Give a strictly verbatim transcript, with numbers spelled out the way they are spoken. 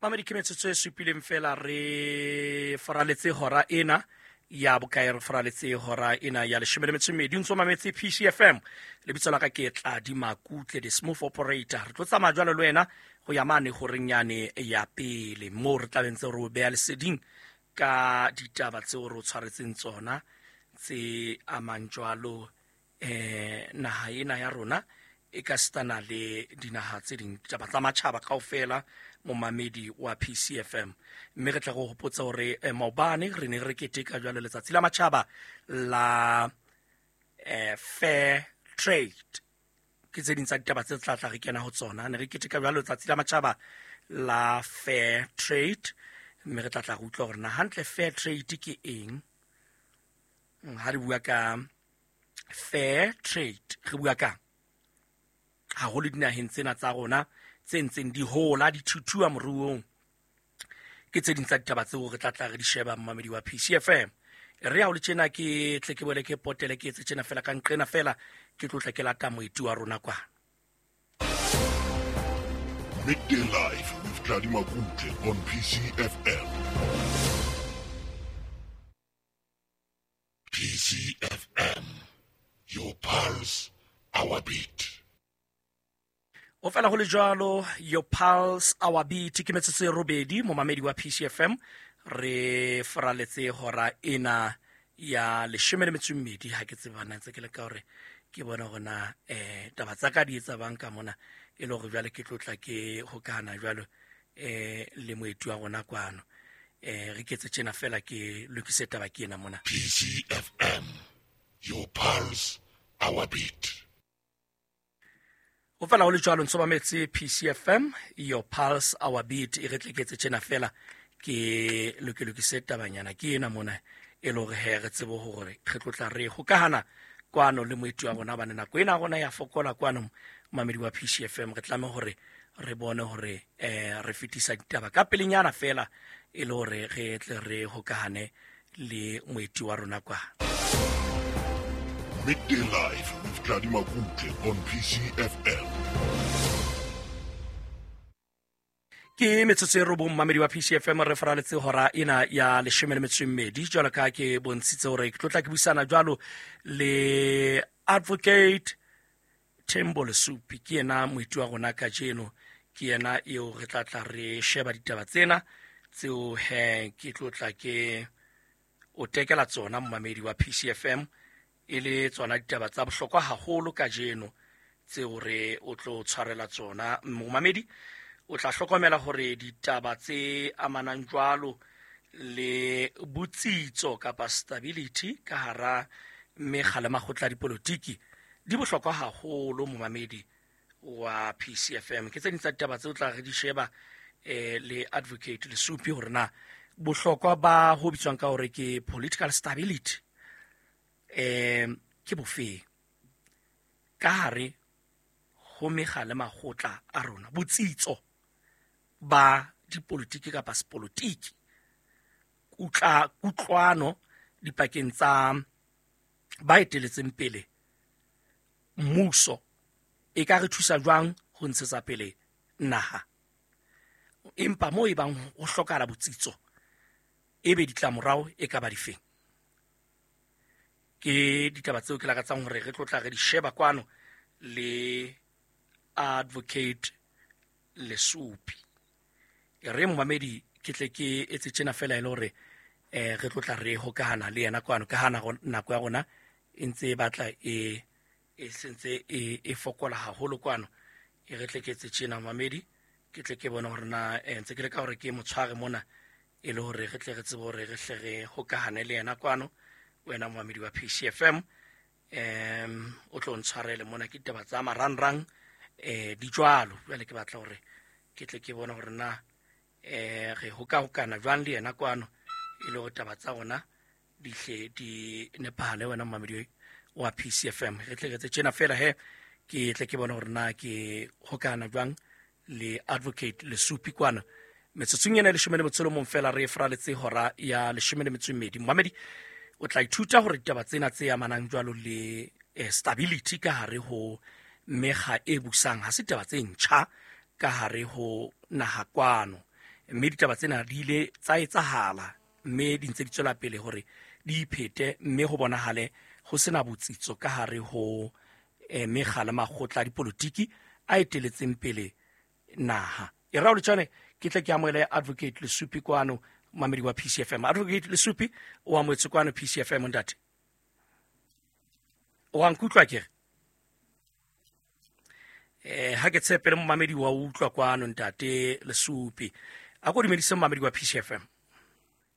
Mamedi, ke metsotso e supileng fela re faraletse hora ena ya bokae, re faraletse hora ena ya leshome le metso e mmedi. O ntso mametse P C F M, lebitso la ka ke Tladi Makutle, the smooth operator. Re tlo tsamaya jwalo le wena ho ya mane horeng yane ya pele, moo re tla be ntse re o beha leseding ka ditaba tseo re o tshwaretseng tsona tse amang jwalo eh naha ena ya rona e ka sitana le dinaha tse ding, ditaba tsa matjhaba kaofela, momamedi wa P C F M. Mme re tla go hopotsa hore, eh, maobane re ne re keteka jwalo letsatsi la matjhaba la, eh, fair trade. Ke tse ding tsa ditaba tse tla tla re kena ho tsona. Ne re keteka jwalo letsatsi la matjhaba la fair trade, mme re tla tla re utlwa hore na hantle fair trade ke eng. Ha re bua ka fair trade, re bua ka haholo dinaheng tsena tsa rona tse ntseng di hola, di thuthua moruong. Ke tse ding tsa ditaba tseo re tla tla re di sheba, momamedi wa P C F M. Re ya ho le tjena, ke tle ke boele ke potele, ke etse tjena fela ka nqena fela, ke tlo tla ke lata moeti wa rona kwana. Midday Live with Tladi Makutle on P C F M. P C F M, your pulse, our beat. O fela ho le jwalo, your pulse, our beat. Ke metsotso e robedi, momamedi wa P C F M. Re faraletse hora ena ya leshome le metso e mmedi. Ha ke tseba na ntse ke leka hore ke bone hore na, eh, taba tsa ka di etsa bang ka mona, e le hore jwale ke tlo tla ke hokahana jwalo, eh, le moeti wa rona kwano. Eh, re ketse tjena fela ke lokise taba ke ena mona. P C F M, your pulse, our beat. Ho fela ho le jwalo, ntso mametse P C F M, your pulse, our beat. E re tle ke etse tjena fela ke loke lokise tabanyana ke ena mona, e le hore he re tsebe hore re tlo tla re hokahana kwano le moeti wa rona, hobane nako ena ya rona ya fokola kwano, momamedi wa P C F M. Re tlameha hore re bone hore, eh, re fetisa ditaba ka pelenyana fela, e le hore re tle re hokahane le moeti wa rona kwa. Midday Live with Tladi Makutle on P C F M. Ke metsotso e robong, momamedi wa P C F M, re faraletse hora ena ya leshome le metso e mmedi. Jwalo ka ke bontshitse hore ke tlo tla ke buisana jwalo le Advocate Thembo Lesupi. Ke yena moeti wa rona kajeno, ke yena eo re tla tla re sheba ditaba tsena tseo he ke tlo tla ke o tekela tsona, momamedi wa P C F M, e le tsona ditaba tsa bohlokwa haholo kajeno tseo re o tlo tshwarela tsona. Momamedi, o tla hlokomela hore ditaba tse amanang jwalo le botsitso kapa stability ka hara mekga le makgotla a dipolotiki di bohlokwa haholo, momamedi wa P C F M. Ke tse ding tsa ditaba tseo tla re di sheba, eh, le Advocate Lesupi, hore na bohlokwa ba ho bitswang ka hore ke political stability, eh, ke bofeng ka hare ho mekga le makgotla a rona, botsitso ba dipolotiki kapa sepolotiki, kutla, kutlwano dipakeng tsa ba eteletseng pele mmuso e ka re thusa jwang ho ntshetsa pele naha. Empa moo e bang ho hlokahala botsitso, ebe ditlamorao e ka ba difeng? Ke ditaba tseo ke lakatsang hore re tlo tla re di sheba kwano le Advocate Lesupi. E re momamedi, ke tle ke etse tjena fela e le hore, eh, re tlo tla re hokahana le yena kwano, ka ha nako ya rona e ntse e batla e, e sentse e, e fokola haholo kwano. E re tle ke etse tjena momamedi, ke tle ke bone hore na, eh, ntse ke leka hore ke mo tshware mona, e le hore re tle re tsebe hore re hle re hokahane le yena kwano. Wena momamedi wa P C F M, em, o tlo ntshwarele mona, ke ditaba tsa marangrang, eh, di jwalo. Jwale ke batla hore ke tle ke bone hore na, eh, re hokahokana jwang le yena kwano, e le hore taba tsa rona di hle di nepahale, wena momamedi wa P C F M. Re tle re etse tjena fela he, ke tle ke bone hore na ke hokahana jwang le Advocate Lesupi kwano. Metsotsong ena e leshome le metso e mong fela re faraletse hora ya leshome le metso e mmedi. Momamedi, o tla ithuta hore ditaba tsena tse amanang jwalo le, eh, stability ka hare ho mekga e busang ha se taba tse ntjha ka hare ho naha kwano. Mme ditaba tsena di ile tsa etsahala, mme di ntse di tswela pele hore di iphete, mme ho bonahale ho sena botsitso ka hare ho eh, mekga le makgotla a dipolotiki a eteletseng pele naha. E rao letjane ke tle ke amohele Advocate Lesupi kwano, mamedi wa P C F M. Advocate Lesupi o amohetse kwano P C F M, ntate. O a nkutlwa ke re? Eh, ha ke tshepe le momamedi wa utlwa kwano, ntate Lesupi. A ko dumedise momamedi wa P C F M.